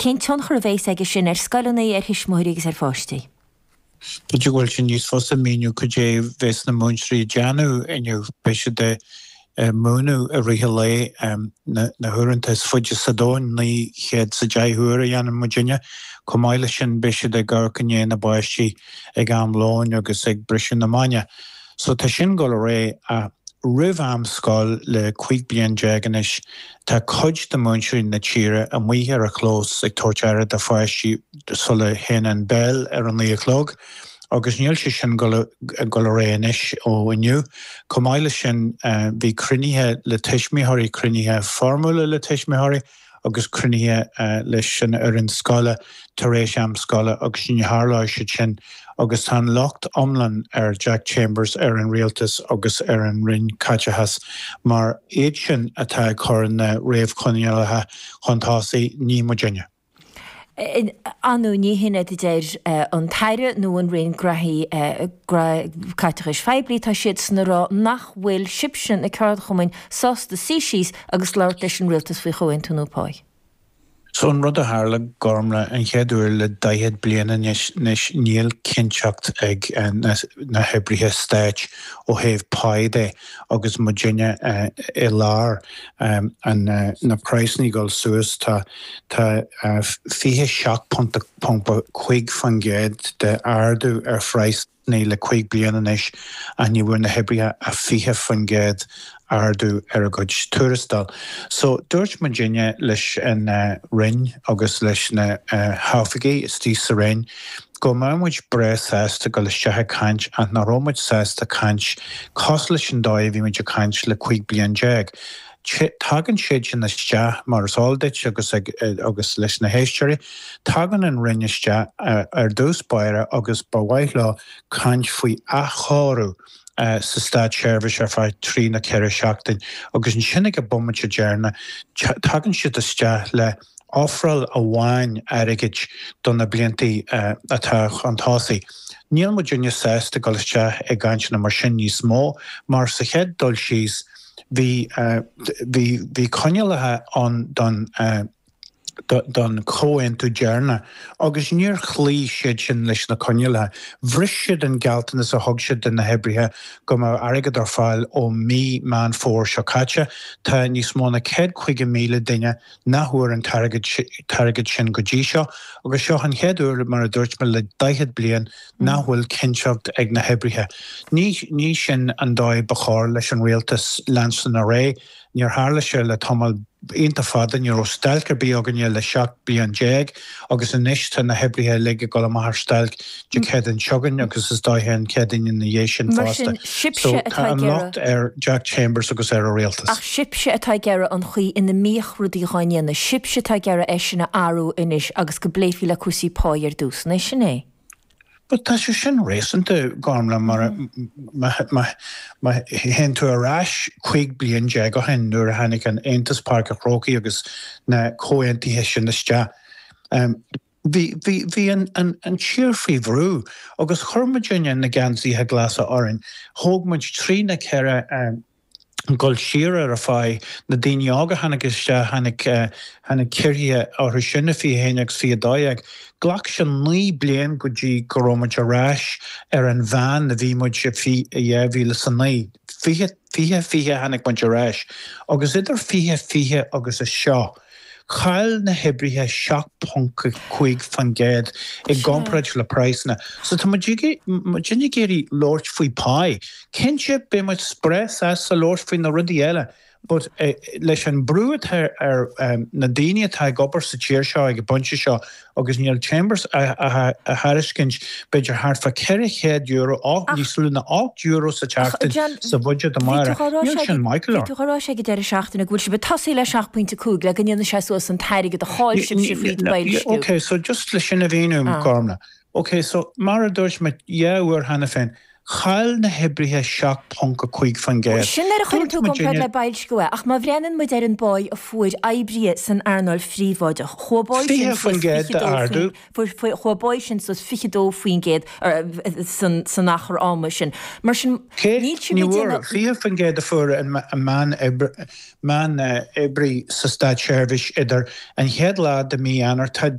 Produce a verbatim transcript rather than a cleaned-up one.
Cén tionchar a bheas aige sin ar scoileanna, ar thuismitheoirí agus ar pháistí? B'fhéidir go bhfuil sé níos fusa míniú cad é bheas na múinteoirí ag déanamh inniu. Beidh siad ag múineadh i rith an lae na huaireanta is faide sa domhan, naoi chéad is a deich uair a dhéanann muidinne. Chomh maith leis sin beidh siad ag amharc i ndiaidh na bpáistí ag am lóin agus ag briseadh na maidne. So tá sin ag dul ar aghaidh ach roimh am scoil le cúig bliain déag anois tá cuid de mhúinteoirí na tíre amuigh ar an chlós ag tabhairt aire do pháistí sula théann an béal ar a naoi a chlog agus níl sé sin ag dul ar aghaidh anois ó inniu. Chomh maith leis sin bhí cruinnithe le tuismitheoirí, cruinnithe foirmiúla le tuismitheoirí agus cruinnithe leis an fhoireann scoile tar éis am scoile agus ní tharlóidh siad sin agus tá an locht iomlán ar Jack Chambers, ar an rialtas agus ar an Roinn Caiteachais mar iad sin atá ag cur na réamhchoinníollacha chun tosaigh, ní muidinne. Ar ndóigh ní hin a deir an tAire nó an Roinn Graithí Caiteachais Phoiblí, tá siadsan ag rá nach bhfuil sibhse, na ceardchumainn, sásta suí síos agus labhairt leis an rialtas faoi chomhaontú nua páí. So an rud a tharla, Gormlaith, an chéad uair le daichead bliain anois, níl cinnteacht ag na hoibrithe stáit ó thaobh páí de agus muidinne i lár na praghsanna ag dul suas. Tá tá fiche seacht ponc cúig faoin gcéad de ardú ar phraghsanna le cúig bliana anois ach ní bhfuair na hoibrithe ach fiche faoin gcéad ardú ar a gcuid tuarastal. So dúirt muidinne leis an Roinn agus leis na hoifigigh istigh sa Roinn go mbeadh muid breá sásta dul isteach ag caint ach nach raibh muid sásta caint cosúil leis an dóigh a bhí muid ag caint le cúig bliain déag. Tagann siad sin isteach mar is eol duit agus agus leis na héisteoirí, tagann an Roinn isteach ar dtús báire agus ba mhaith leo caint faoi athchóiriú sa státseirbhís ar feadh trí nó ceithre seachtain agus ansin ag an bomaite deireanach tagann siad isteach le ofráil amháin airgid do na blianta atá chun tosaigh. Níl muidinne sásta dul isteach i gcainteanna mar sin níos mó mar sa chéad dul síos bhí bhí bhí coinníollacha ann don don chomhaontú deireanach agus níor chloígh siad sin leis na coinníollacha. Bhris siad an gealltanas a thug siad do na hoibrithe go mbeadh airgead ar fáil ó mí Meán Fómhair seo caite. Tá níos mó ná céad caoga míle duine nach bhfuair an t-airgead sin go dtí seo agus seo an chéad uair, mar a dúirt mé, le daichead bliain nach bhfuil cinnteacht ag na hoibrithe. Ní ní sin an dóigh ba chóir leis an rialtas leanstan ar aghaidh. Níor tharla sé le tamall iontach fada, ní raibh stailc ar bith againne le seacht bliain déag agus anois tá na hoibrithe uilig ag dul amach ar stailc Dé Céadaoin seo chugainn agus is dóiche an Chéadaoin ina dhiaidh sin Mar fosta. sin, sibhse So atá tá ag an iarraidh. locht ar Jack Chambers agus ar a rialtas. Ach sibhse atá ag iarraidh an chaoi ina mbíodh rudaí dhá ndéanamh, sibhse atá ag iarraidh é sin a athrú anois agus go bpléifí le cúrsaí páí ar dtús, an é sin é? But tá sé sin réasúnta, Gormlaith, mar má théann tú ar ais cúig bliain déag ó shin nuair a tháinig an Aontas Páirc an Chrócaigh agus na comhaontuithe sin isteach, bhí bhí bhí an an an tír faoi bhrú agus chuir muidinne na geansaithe glasa orainn. Thóg muid trí nó ceithre dul siar ar an phá. Na daoine óga a tháinig isteach, tháinig tháinig ciorruithe orthu sin i fiche haon agus fiche dó dhéag. Ghlac sé naoi bliain go dtí go raibh muid ar ais ar an mheán a bhí muid i dhá mhíle is a naoi. Fiche fiche fiche tháinig muid ar ais. Agus idir fiche fiche agus a seo, Chaill na hoibrithe seacht ponc cúig faoin gcéad i gcomparáid le praghsanna. So tá muid muidinne ag iarraidh labhairt faoi pá. Cinnte, beidh muid breá sásta labhairt faoi na rudaí eile but leis an brú atá ar na daoine atá ag obair sa tír seo ag an bpointe seo agus níl Chambers á thairiscint b'fhéidir thart fá ceithre chéad euro, Ach níos lú ná ocht euro sa Ach tseachtain John, sa bhuiséad bhí tú amárach. dhá rá Níl sé sin maith go bhí leor. tú dhá rá sé ag an deireadh seachtaine go bhfuil sibh ag tosaí le seacht pointe cúig le go ndéanfaidh sé suas an t-airgead a chaill sibhse fríd boilsciú. Ok, so just le sin a mhíniú, Ah. Gormlaith. Ok, so mar a dúirt mé dhá uair cheana féin, Chaill na hoibrithe seacht ponc a cúig faoin gcéad. Sin nuair a chuireann tú i gcomparáid le boilsciú é, ach má bhreathnaíonn muid ar an bpáigh a fuair oibrithe san earnáil phríobháideach, chuaigh a bpáigh sin fiche faoin suas gcéad fiche dó d'ardú. faoin, chuaigh a bpáigh sin suas fiche dó faoin gcéad san achar ama sin. Mar sin, Cé? níl sibh Ní ag bhfuair. déanamh. Fiche faoin gcéad a fuair an meán-oibrí sa státseirbhís idir an chéad lá de mhí Eanáir, tá